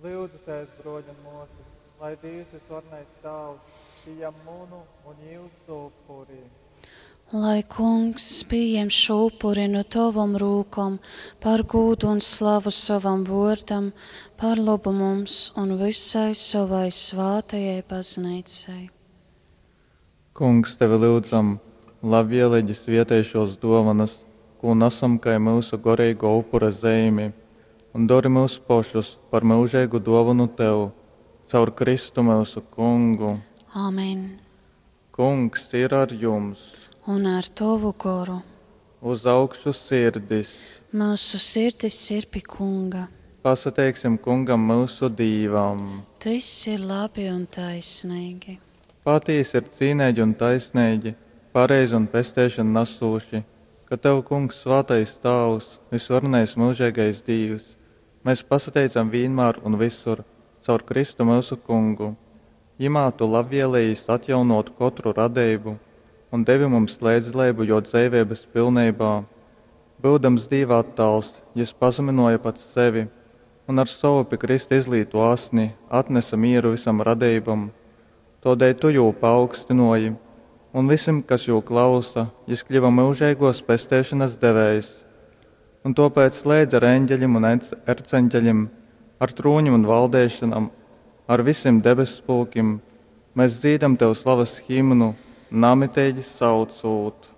Lyudzitēs, bruoļi un muosys, lai Dīvs Vysvarenais Tāvs pījam munu un jiusu upuri. Lai Kungs pījem šo upuri nu tovom rūkom par gūdu un slavu sovam vuordam, par lobu mums un vysai sovai svātajai Bazneicai. Kungs, tevi lyudzam, labvieleigi svietej šuos duovanas, kū nasam kai myusu goreiguo upura zeimi, un dori myus pošus par myužeigu duovonu tev. Caur Kristu myusu Kungu. Amen. Kungs ir ar jums! Un ar tovu goru. Uz augšu sirdis! Myusu sirdis ir pi Kunga. Pasateiksim Kungam myusu Dīvam! Tys ir labi un taisneigi. Patīsi ir cīneigi un taisneigi, pareizi un pesteišonu nasūši, ka tev, Kungs, svātais Tāvs, vysvarenais myužeigais Dīvs, mes pasateicam vīnmār un vysur caur Kristu myusu Kungu. Jymā tu labvēlejīs atjaunōt kotru radeibu un devi mums leidzdaleibu jō dzeiveibas pilneibā. Byudams Dīva attāls, jys pazamynōja pats sevi un ar sovu pi krysta izlītū asni atnese mīru vysam radeibom. Tōdēļ tu jū paaugstynōji, un vysim, kas jū klausa, jys kļyva myužeigōs pesteišonas devējs. Un tōpēc leidz ar eņgelim un erceņgelim, ar trūnim un valdeišonam, ar vysim debesspulkim mes dzīdam tev slavas himnu, namiteigi saucūt.